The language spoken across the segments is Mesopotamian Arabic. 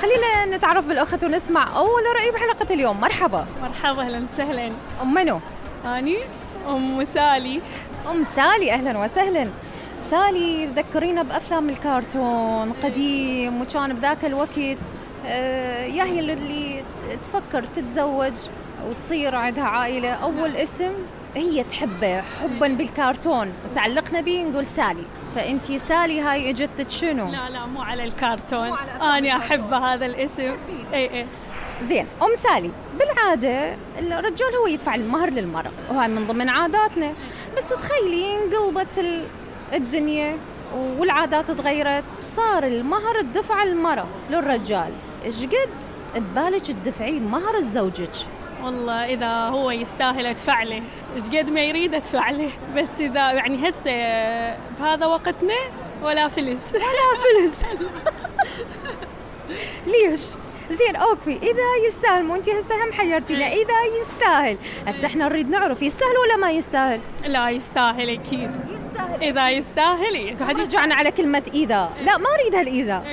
خلينا نتعرف بالأخت ونسمع أول رأي بحلقة اليوم. مرحبا. مرحبا، أهلا وسهلا. أم منو؟ أني أم سالي. أم سالي، أهلا وسهلا. سالي ذكرينا بأفلام الكرتون قديم، وكان بذاك الوقت يا هي اللي تفكر تتزوج وتصير عندها عائلة، أول اسم هي تحبه حبا بالكرتون وتعلقنا به نقول سالي. فأنتي سالي هاي اجتك شنو؟ لا مو على الكرتون، أنا أحب هذا الاسم. اي زين. أم سالي، بالعادة الرجال هو يدفع المهر للمرأة، وهاي من ضمن عاداتنا، بس تخيلي انقلبت الدنيا والعادات تغيرت، صار المهر الدفع المرأة للرجال. ايش قد تبالك تدفعين مهر زوجك؟ والله إذا هو يستاهل أدفع له، إيش قد ما يريد أدفع له، بس إذا يعني هسه بهذا وقتنا ولا فلس. ولا فلس. ليش؟ زين اوكي، اذا يستاهل، مو انتي هسه هم حيرتينا، اذا يستاهل، هسه احنا نريد نعرف يستاهل ولا ما يستاهل؟ لا يستاهل اكيد. يستاهل. اذا يستاهل. رجعنا على كلمة اذا، لا ما اريد هالاذا.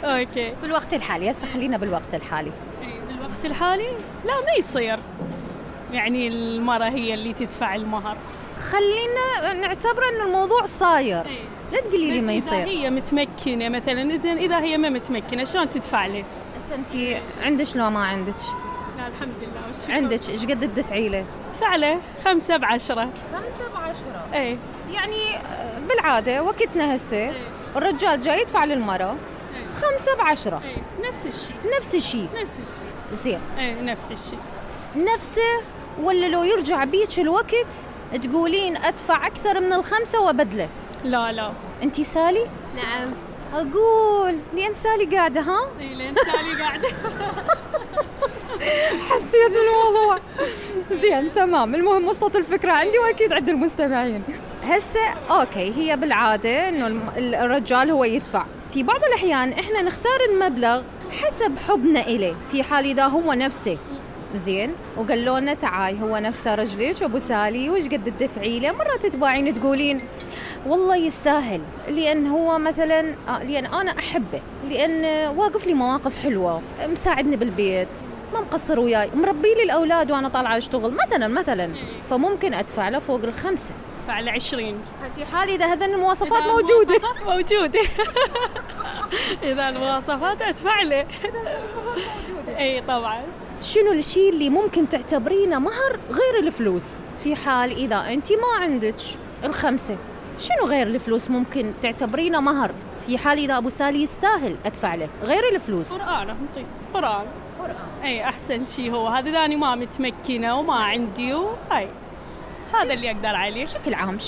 اوكي. بالوقت الحالي، هسه خلينا بالوقت الحالي. بالوقت الحالي لا ما يصير، يعني المرأة هي اللي تدفع المهر. خلينا نعتبر انه الموضوع صاير. لا تقولي لي ما يصير. إذا هي متمكنة مثلا، إذا هي ما متمكنة شلون تدفع له؟ هسه أنتي عندك لو ما عندك؟ لا الحمد لله والشكر. عندك، إيش قد تدفعي له؟ ادفع له 5 ب10. 5 ب10. إيه. يعني بالعادة وقتنا هسه الرجال جاي يدفع للمرأة 5 ب10. إيه. نفس الشيء. زين. إيه نفس الشيء. نفسه، ولا لو يرجع بيك الوقت تقولين أدفع أكثر من 5 وبدله؟ لا. أنتي سالي؟ نعم. أقول لين سالي قاعدة. ها؟ إيه لين سالي قاعدة. حسيت بالموضوع. زين تمام. المهم وصلت الفكرة عندي وأكيد عند المستمعين. هسه أوكي، هي بالعادة إنه الرجال هو يدفع. في بعض الأحيان إحنا نختار المبلغ حسب حبنا إليه، في حال إذا هو نفسه زين وقالوا لنا تعاي هو نفسه رجليك أبو سالي وش قد تدفعي له، مرات تتباعين تقولين والله يستاهل، لأن هو مثلا لأن أنا أحبه، لأن واقف لي مواقف حلوة، مساعدني بالبيت، ما مقصر وياي، مربي لي الأولاد وأنا طالعة أشتغل مثلا، فممكن أدفع له فوق 5. أدفع له 20 في حال إذا هذا المواصفات موجودة. إذا المواصفات أدفع له. أي طبعا. شنو الشيء اللي ممكن تعتبرينه مهر غير الفلوس؟ في حال إذا أنت ما عندك 5، شنو غير الفلوس ممكن تعتبرينه مهر؟ في حال إذا أبو سالي يستاهل أدفع له غير الفلوس. قرآن. أي أحسن شيء هو هذا، إذا أنا ما متمكنة وما عندي، وهاي هذا اللي أقدر عليه. بشكل عام